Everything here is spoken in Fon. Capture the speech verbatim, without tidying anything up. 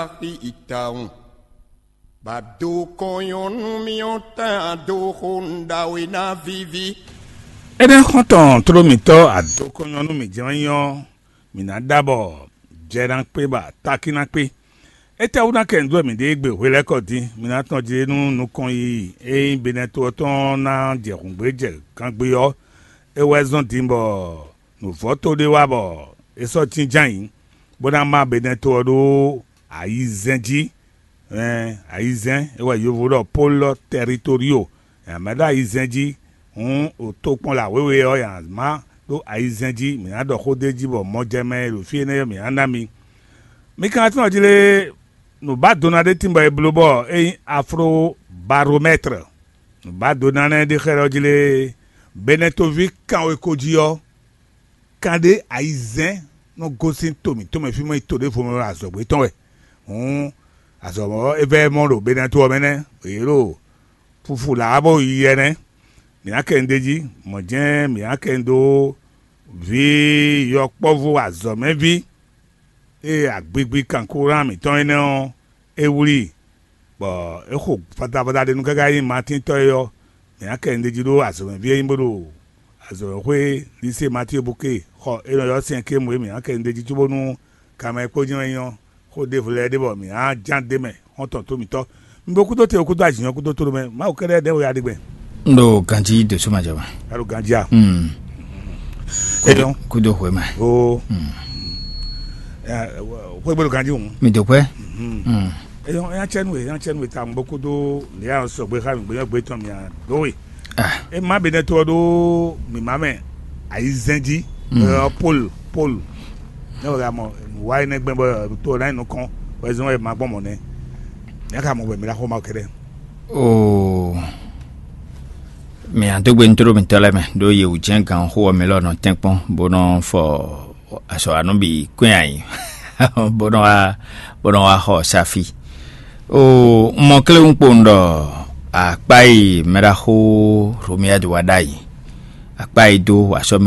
axi itawun. Ba do kɔnyɔnu miɔ tan do xo nɖawe na vivi. Énɛ́ xɔ́ntɔn tló mǐtɔn adokɔnyɔnu mǐ jɛ́n wɛ nyí ɔ́, mǐ ná ɖa bɔ jɛ ná kpé bɔ atákí ná kpé. Étɛ́wú ná kɛ nǔ dó wɛ mǐ ɖe égbé hwelɛ́kɔ din? Mǐ ná tɔn jlé nú nukɔn yiyi e nyí Benɛto ɔ́ tɔn ná jɛ hǔngbé jɛ gangbé ɔ́, é wɛ zɔ́n din bɔ nǔvɔ́ to ɖé wá bɔ é sɔ́ jínjɔ́n ayǐ, bó ná má Benɛto ɔ́ ɖó ayizɛ́n jí. Ɛn ayizɛ́n é wɛ yovo ɖɔ polo tɛritorio. Nya mɛ ɖo ayizɛ́n jí, hǔn o tokpɔn la wěwe ɔ́, nya má ɖó ayizɛ́n jí. Mǐ ná ɖɔ xó d'é jí bɔ mɔjɛmɛ e ɖo fí énɛ́ ɔ́, mǐ ná ná mi. Mi ka tunwun jí lé, nǔbádona ɖé tín bɔ è bló bɔ é nyí afrobaromɛ́tre. Nǔbádona nɛ́ ɖé xlɛ́ ɖɔ jí lé, Benɛtoví kanweko jí ɔ́, kanɖé ayizɛ́n nɔ gosín to mǐtɔn mɛ fí mɔ nyí to ɖěvo mɛ wɛ azɔ̌gbé tɔn wɛ. Hǔn azɔ̌ ɔ́, é vɛ́ mɔ ɖo Benɛto ɔ́ mɛ nɛ́, yě ɖo fufu lǎ bó yi yɛ nɛ́. Mǐ ná kɛ nu d'é jí, mɔ̌ jɛ́n mǐ ná kɛ nu dó vǐ yɔkpɔ́vú azɔ̌mɛví e agbigbi kankuran mǐtɔn énɛ́ ɔ́, é wlí i, bɔ é xo fatafata ɖé nú káká nyí Matíntɔ́ é ɔ́, mǐ ná kɛ nu d'é jí ɖó azɔ̌mɛví e nyí bó ɖo azɔ̌mɛxwé Lisée Matíe Buke xɔ é nɔ ylɔ́ syɛ́nkému é mǐ ná kɛ nu d'é jí cóbónú kanmɛ e kpó jɛ́n wɛ nyí ɔ́, xó ɖěvo lɛ́ɛ ɖé bɔ mǐ ná ján d'é mɛ xɔ́ntɔn tó mǐtɔn. Mi bo kúdó te, kúdó azǐn ɔ́, kúdó tóɖó mɛ. Mawu kɛ́ɖɛ́ ɖɛ̌ wɛ ya ɖe gbɛn. N ɖo ganjí ɖo súnmajɔ mɛ. A ɖo ganjí a? Mm. Kúdó, kúdó hwemɛ. O. Mm. Xwé gbé ɖo ganjí hǔn. Mi dó kwɛ. Mm. Eyɔn ya cɛ nú e, ya cɛ nú e ta ŋgbó kúdó lě a sɔgbe xá mi gbé yɔn gbé tɔn mi a dó we. Ah. E ma be nɛ to ɔ́ ɖó mǐmá mɛ ayizɛ́n jí. Mm. Ɔ, Pol, Pol. Ne wɛ mɔ wá yi nɛ gbɛn bɔ to ɔ́ ná yi nukɔn wɛ zɔn wɛ ma gbɔn mɔ nɛ. Ya ka mɔ wɛ mi la xɔ ma kɛɖɛ. Oo. Mi a dó gbe ntró mitɔ́ lɛ́ɛ mɛ ɖó yě wú jɛ́n gan xó ɔ́ mi lɔ nɔ tɛ́nkpɔ́n bó nɔ fɔ azɔ̌wanú bǐ kɔn nyi ayǐ bó nɔ wá bó nɔ wá xɔ sáfí. Oo, un mɔ kléwún kpowun ɖɔ akpá e mɛɖaxó Romiyadi wá ɖ'ayǐ, akpá e dó asɔ́